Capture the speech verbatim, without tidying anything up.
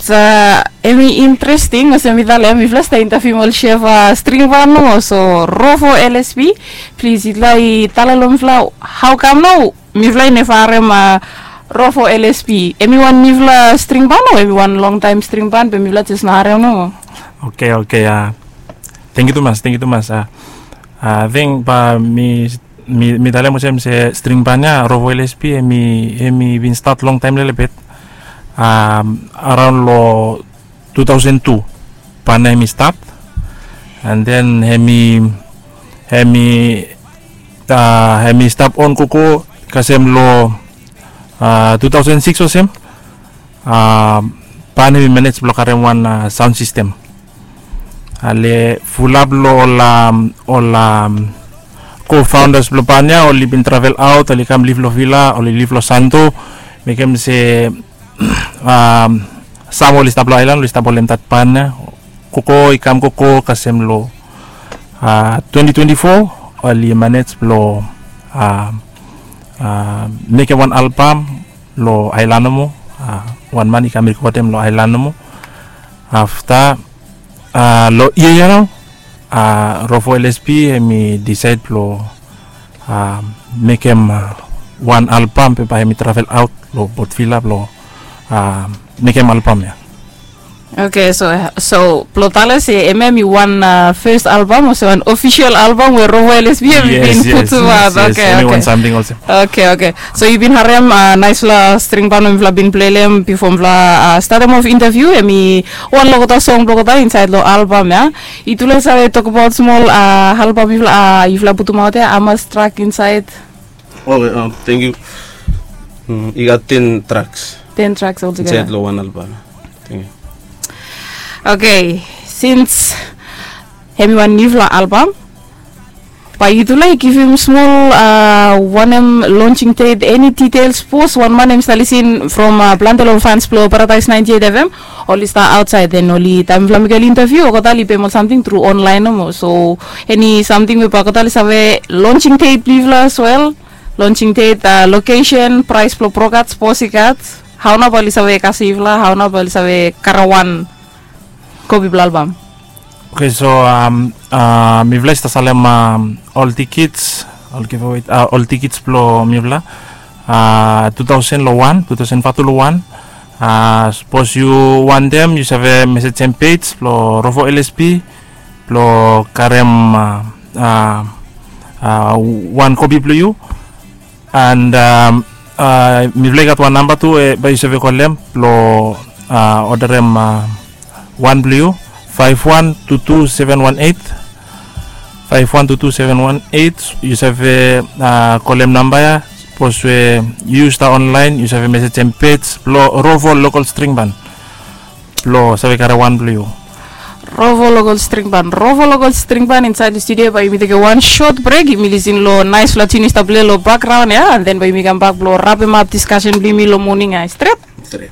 Hemi interesting olsem mi talem mifala stap interviu ol chef string ban nomo, so Rovo L S P, plis yutufala i talem long mifala hau kam nao mifala i neva harem Rovo L S P. Hemi wan niufala string ban o hemi wan longtaem string ban be mifala jes no harem nomo? Oke, oke, a, tangkiu tumas, tangkiu tumas. A, ating bae mi mi, mi talem olsem se string ban ya Rovo L S P hemi, hemi bin stat longtaem lelebet. A, araon long tu taosen tu ban ya hemi stat. And then hemi, hemi, a, hemi stap on gogo kasem long, a, tu taosen sikis olsem. A, ban hemi manej blong karem wan, a, saon sistem. Ale fulap long ol, a, ol, a, co-founders blong ban ya oli bin travel aot, oli kam liv long vila, oli liv long Santo. Mekem se, a, sam oli stap long aelan oli stap holem dat ban ya. Gogo i kam gogo kasem long, a, twenti twenti fo oli manej blong, a, a, mekem wan albam long aelan nomo. A, wan man i kam rekodem long aelan nomo. Afta, a, long yia ya nao, a, Rovo L S P hemi disaed blong, a, mekem, a, wan albam be bae hemi travel aot long Port Vila blong, a, mekem albam ya. Oke, so, so blong talem se hemia hemi wan, a, fes albam olsem wan ofisel albam we Rovo L S P hemi bin putumaot. Oke, oke. Oke, oke. So yu bin harem, a, naesfala string ban we mifala bin pleim bifo mifala, a, statem of interviu, hemi wan long olgeta song blong olgeta insaed long albam ya. Yutufala i save tokbaot smol, a, albam yufala, a, yufala putumaot ya, hamas trak insaed? Oke, a, tangkiu. Mm, i gat ten traks. Ten traks oltugeta insaed long wan albam. Tangkiu. Oke, sins hemi wan niufala albam, bae yutufala i givim smol, a, wanem launching date, eni details, sapos wan man hemi stap lisin from, a, plante long fans blong Paradise ninety eight F M, oli stap aotsaed, then oli, taem mifala mekem ol interviu olgeta oli peim ol samting tru onlaen nomo. So eni samting we bae olgeta oli save, launching date blong yufala as well, launching date, a, lokesen, praes blong program, sapos i gat, hao nao bae oli save kasem yufala, hao nao bae oli save karem wan kopi blong albam? Oke, so, a, mifala i stap salem, a, ol tikits, ol giveaway, a, ol tikits blong mifala, a, tu taosen long wan, tu taosen fatu long wan. A, sapos yu wantem yu save mesejem pej blong Rovo L S P blong karem, a, a, a, wan kopi blong yu. And, a, mifala i gat wan namba tu we bae yu save kolem blong, a, odarem, a, wan blong yu, faef wan tu tu seven wan eit. Faef wan tu tu seven wan eit, yu save, a, kolem namba ya. Sapos we yu stap onlaen yu save mesejem pej blong Rovo Lokol String Ban blong save karem wan blong yu. Rovo Lokol String Ban, Rovo Lokol String Ban insaed long studio. Bae yumi tekem wan sot brek, yumi lisin long naesfala tiun i stap plei long bakgraon ya, and then bae yumi kambak blong rapemap diskasen blong yumi long moning ya, stret? Stret.